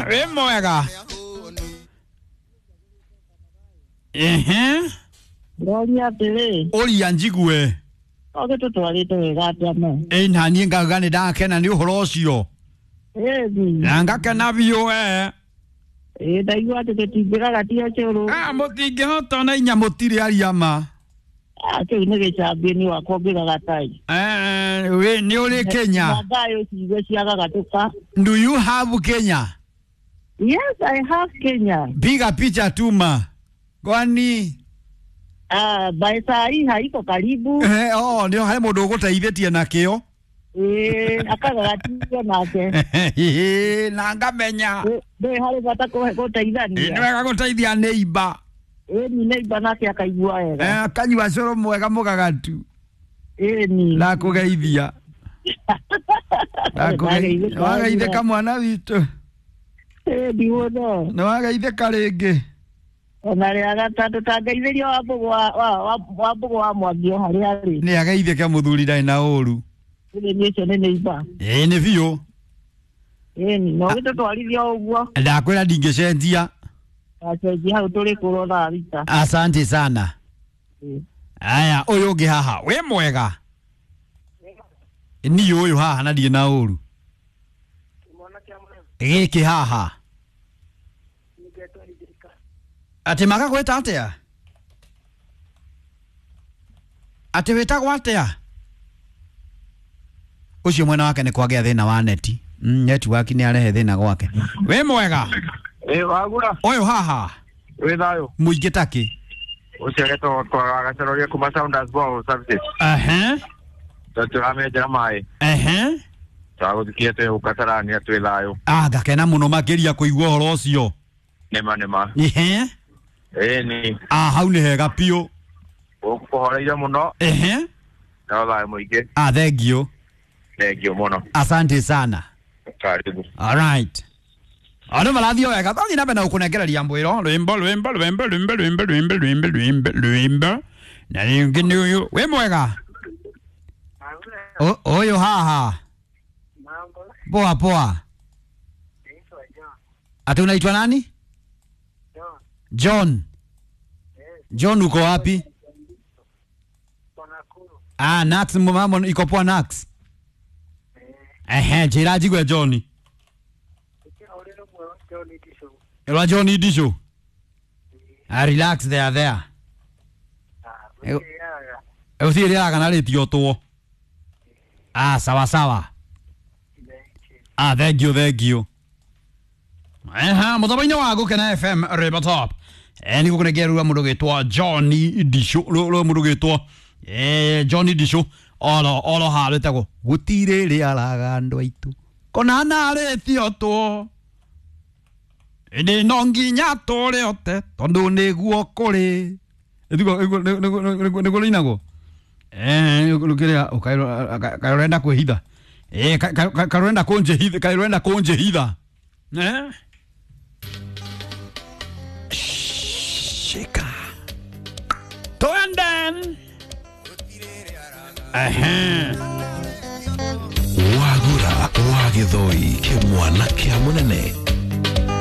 Wĩ mwega. Ehe. Ndoria atĩrĩ. Ũria njigue. Ũgĩtũtwarĩte wega atĩa ma? Ĩ naniĩ ngauga nĩ ndakena nĩ ũhoro ũcio. Ĩni. Na ngakena biũ we. Ĩ ndaigua atĩ tũtingĩgagatia cũrũ. Ah, mũtingĩhota na inya mũtirĩ aria ma. Ah, kĩu nĩ gĩcambioni wakwa ũngĩgagatai. Eh, we nĩ ũrĩ Kenya. Na thayũ ciigue ciagagatũka. Do you have Kenya? Yes, I have Kenya. Piga picha tuma. Kwani Ah, by saa hii haiko karibu. eh, oh, nĩ harĩ mũndũ ũgũteithĩtie nakĩo. Ĩ akagagatia nake. Na ngamenya. Ndĩ harĩ bata Nĩ gũteithania. wega gũteithia neighbor. Ĩni neighbor nake akaigua wega. Eh, kanyua cũrũ mwega mũgagatu. Ĩni. Ndakũgeithia. Ndakũgeithia. Wageithĩka mwana witũ. Ĩni mũno. Nĩ wageithĩka rĩngĩ. Ona rĩa gatatũ tangeithĩria wa mbũgũ wa Mwangi o harĩa arĩ. Nĩ ageithĩke mũthuri ndarĩ na ũru. Ĩni ũcio nĩ neighbor. Ĩĩ nĩ biũ. Ĩni no gĩtũtwarithia o ũguo. Ndakwĩra ndingĩcenjia. Acenjia hau tũrĩ kũrwo thaa thita. Asante sana. Aya, ũyũ ũngĩ haha, wĩ mwega? Niĩ ũyũ haha na ndirĩ na ũru. Gĩkĩ haha. Atĩ magagwĩta atĩa? Atĩ wĩtagwo atĩa? Ũcio mwena wake nĩ kwagĩa thĩna wa neti. Network nĩ arehe thĩna gwake. Wĩ mwega? Ĩ wagura. Ũyũ haha. Wĩ thayũ. Mũingĩ takĩ. Ũcio agetwo twagaceroria kuma Sounders Ball Services. Ehe. Tũramenjera maĩ. Ehe. Twagũthikia twĩ gũkatarania twĩ thayũ. Ah, ngakena mũno makĩria kũigua ũhoro ũcio. Nĩma nĩma. Ehe. Ĩni. Ah, hau nĩ hega biũ. Gũkũ kũhoreire mũno. Ehe. No thayũ mũingĩ. Ah, thank you. Thank you mũno. Asante sana. Karibu. All right. Andũ marathiĩ o wega twathiĩ na mbere na gũkũnengereria mbwĩro rwĩmbo rwĩmbo rwĩmbo rwĩmbo rwĩmbo rwĩmbo rwĩmbo rwĩmbo rwĩmbo na rĩngĩ nĩ ũyũ wĩ mwega. Ũyũ haha. Poa poa. Ati unaitwa nani? John. John uko wapi? Ah, Nax mama iko poa Nax. Ehe, njĩra njigue John. Rwa John Idisho. Ah, relax there there. Ũthiĩ rĩaga na rĩtiotwo. Ah, sawa sawa. Ah, thank you, thank you. Ehe, mũthaba-inĩ wa Gũkena FM River Top. Eh, nĩ gũkũnengera rwa mũndũ gwĩtwo John Idisho, rwa mũndũ gwĩtwo John Idisho oro oro ha rwĩtagwo gũtirĩ rĩaraga andũ aitũ kona narĩtiotwo ĩndĩ no nginya tũrĩote tondũ nĩguo kũrĩ nĩguo rĩinagwo kĩrĩa kaĩ ũrenda kwĩhitha kaĩ ũrenda kũnjĩhitha kaĩ ũrenda kũnjĩhitha. Shika twende. Ehe. Wagura wa gĩthoi kĩmwana kĩa mũnene.